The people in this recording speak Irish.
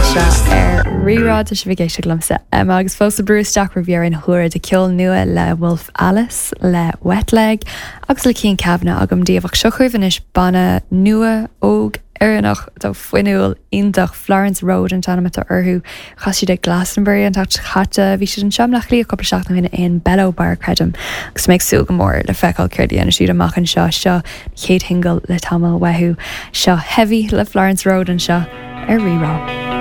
Anseo ar Rí-Rá, tá sibh ag éisteacht liomsa, Emma, agus fós ag brú isteach roimh dheireadh na huaire de ceol nua le Wolf Alice, le Wet Leg agus le Cian Kavanagh agam daoibh. Ach seo chugaibh anois banna nua, óg, Éireannach atá fuinniúil, iontach, Florence Road an t-ainm atá orthu. Chas siad ag Glastonbury an tseachtain seo caite. Bhí siad anseo i mBleá Cliath cúpla seachtain ó shin in Bello Bar, creidim. Agus tá mé ag súil go mór le feiceáil céard a dhéanfaidh siad amach anseo. Seo an chéad shingil le tamall uathu. Seo Heavy le Florence Road anseo ar Rí-Rá.